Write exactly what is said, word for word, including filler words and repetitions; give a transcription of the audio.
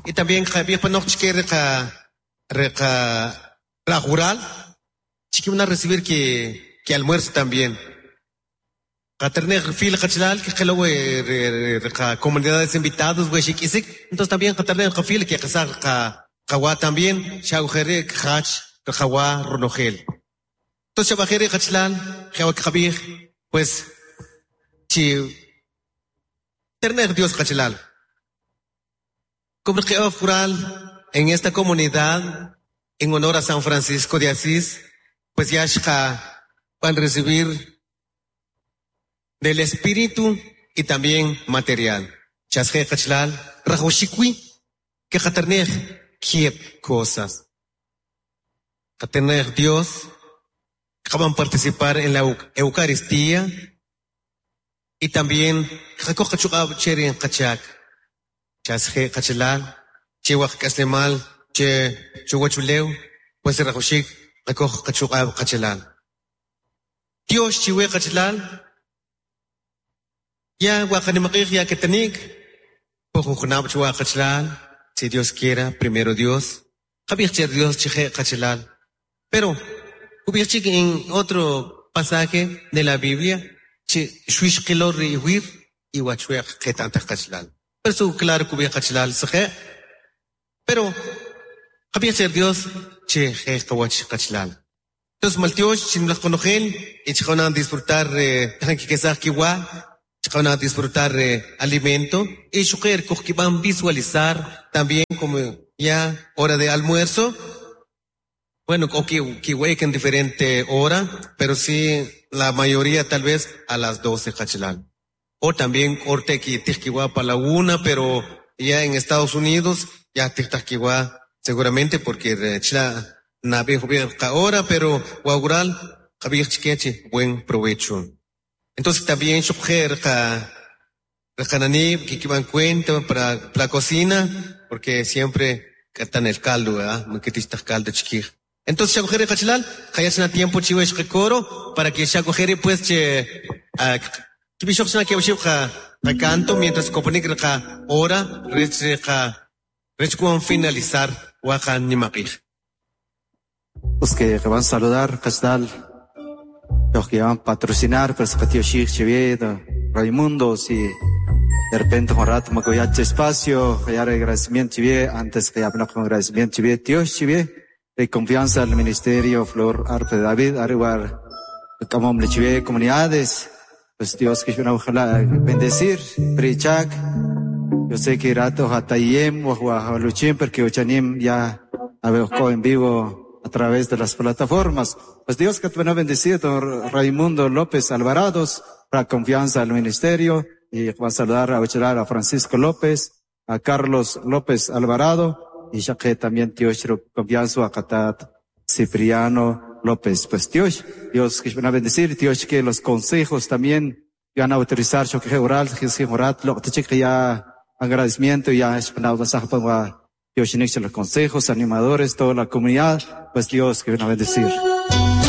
Y también qab'ij panoq chike riqa riqa rajural chike van a recibir ki ki almuerzo también. Qaternej fil qachalal que qelo riqa comunidades invitados we xik'isik, entonces también qaternej qafil que qasaj qa qawa también xawjeri kjach qawa ronojel. Entonces xab'ajeri qachalal jewa qab'ij pues chi ternej Dios qachalal. Como que jural en esta comunidad en honor a San Francisco de Asís, pues ya van a recibir del espíritu y también material. Chasje qachalal rajawxikwi que qaternej kieb cosas. Qaternej Dios van a participar en la Eucaristía y también qakoj qachuq'ab cherin qachak. Chasje qachalal chewaj k'aslemal che chuwachulew pues rajawxik qakoj qachuq'ab qachalal. Dios chiwe qachalal ya waqanimaqij ya ketanik pojujunab chuwa qachalal si Dios quiera primero Dios qab'ij che Dios chije qachalal. Pero ub'ij chik en otro pasaje de la Biblia che xuixqilo riwir y wachweq qetantaq qachalal. Pero su claro kub'ij qachalal sije pero qab'ij che Dios che je qawach qachalal. Entonces maltiox chinmlaj qonojel y chqanan disfrutar eh, kiwa van a disfrutar eh, alimento y xuqer van visualizar también como ya hora de almuerzo. Bueno, o que en diferente hora, pero sí la mayoría tal vez a las doce qachalal. O también corte que tijkiwa para la una, pero ya en Estados Unidos ya tijtajkiwa seguramente porque chla nabi hora, pero waural buen provecho. Entonces también xuqer ka reqanani que van cuenta para la cocina, porque siempre cantan el caldo, ¿verdad? Caldo chiquij. Entonces xakujeri qachalal, qayachna tiempo chiwesh coro para que xakujeri pues che kibishok que qa canto mientras koponik qa hora rech qa rech kuan finalizar waqa nimaqij. Los que van a saludar qachalal, los que van a patrocinar, pero Raimundo, si de repente un rato me voy a espacio, ya agradecimiento antes que ya con agradecimiento Dios de confianza al ministerio Flor Arpe David, arriba como comunidades, pues Dios que ojalá bendecir, prichak, yo sé que rato hatayem o luchim porque ochanim ya a en vivo a través de las plataformas. Pues Dios que te van a bendecir, don Raimundo López Alvarados, para confianza al ministerio, y va a saludar a a Francisco López, a Carlos López Alvarado, y ya que también Dios confianza a Catat Cipriano López. Pues Dios, Dios que van a bendecir, Dios que los consejos también van a autorizar, yo que oral, que oral, lo que ya agradecimiento, ya es Dios los consejos, animadores, toda la comunidad, pues Dios que van a bendecir.